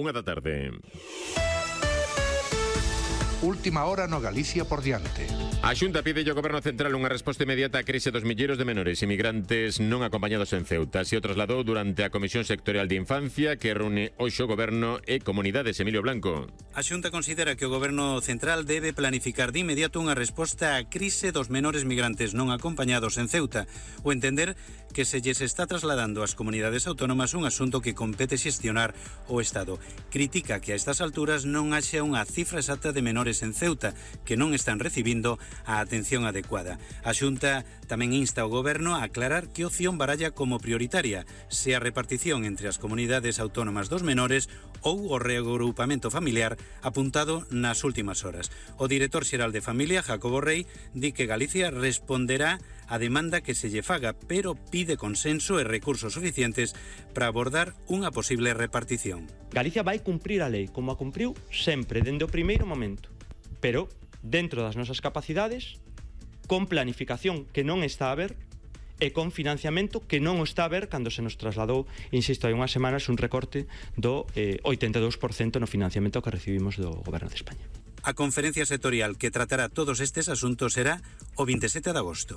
1:00 PM. Última hora no Galicia por diante. A Xunta pide ao Goberno Central unha resposta inmediata á crise dos milleiros de menores inmigrantes non acompañados en Ceuta. Así o trasladou durante a Comisión Sectorial de Infancia que reúne hoxe o Goberno e comunidades. Emilio Blanco. A Xunta considera que o Goberno Central debe planificar de inmediato unha resposta á crise dos menores migrantes non acompañados en Ceuta, o entender que se lles está trasladando ás comunidades autónomas un asunto que compete xestionar o Estado. Critica que a estas alturas non haxa unha cifra exacta de menores en Ceuta que non están recibindo a atención adecuada. A Xunta tamén insta ao Goberno a aclarar que opción baralla como prioritaria, se a repartición entre as comunidades autónomas dos menores ou o reagrupamento familiar apuntado nas últimas horas. O director xeral de Familia, Jacobo Rey, di que Galicia responderá a demanda que se lle faga, pero pide consenso e recursos suficientes para abordar unha posible repartición. Galicia vai cumprir a lei, como a cumpriu sempre, dende o primeiro momento, pero dentro das nosas capacidades, con planificación que non está a ver e con financiamento que non o está a ver cando se nos trasladou, insisto, hai unhas semanas un recorte do 82% no financiamento que recibimos do Goberno de España. A conferencia sectorial que tratará todos estes asuntos será o 27 de agosto.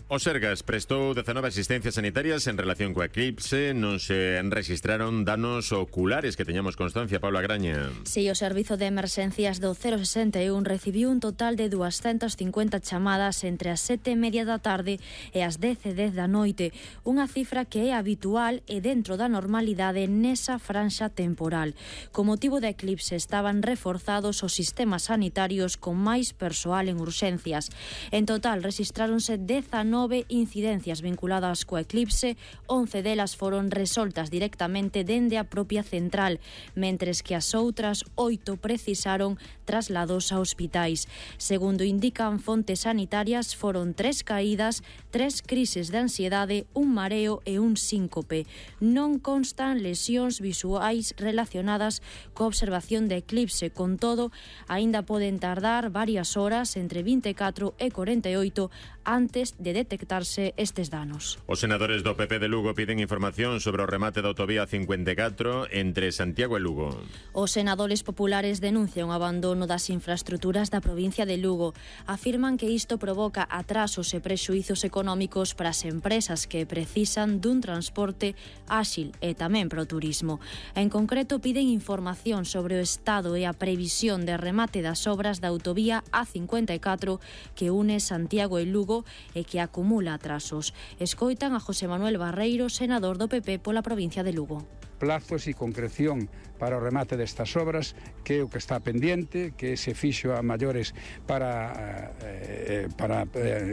O Sergas prestou 19 asistencias sanitarias en relación coa eclipse. Non se registraron danos oculares que teñamos constancia. Paula Graña. Si, o Servizo de Emerxencias do 061 recibiu un total de 250 chamadas entre as 7:30 da tarde e as 10:10 da noite, unha cifra que é habitual e dentro da normalidade nesa franxa temporal. Co motivo da eclipse estaban reforzados os sistemas sanitarios con máis persoal en urxencias. En total rexistráronse 19 incidencias vinculadas coa eclipse, 11 delas foron resoltas directamente dende a propia central, mentres que as outras 8 precisaron traslados a hospitais. Segundo indican fontes sanitarias, foron 3 caídas, 3 crises de ansiedade, un mareo e un síncope. Non constan lesións visuais relacionadas coa observación de eclipse, con todo, aínda poden tardar varias horas, entre 24 e 48, antes de detectarse estes danos. Os senadores do PP de Lugo piden información sobre o remate da autovía 54 entre Santiago e Lugo. Os senadores populares denuncian o abandono das infraestruturas da provincia de Lugo. Afirman que isto provoca atrasos e prexuízos económicos para as empresas que precisan dun transporte áxil e tamén para o turismo. En concreto, piden información sobre o estado e a previsión de remate das obras da autovía A54 que une Santiago e Lugo e que acumula atrasos. Escoitan a José Manuel Barreiro, senador do PP pola provincia de Lugo. Plazos e concreción para o remate destas obras, que é o que está pendiente, que se fixo a maiores para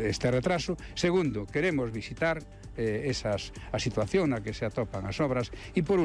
este retraso. Segundo, queremos visitar a situación na que se atopan as obras e por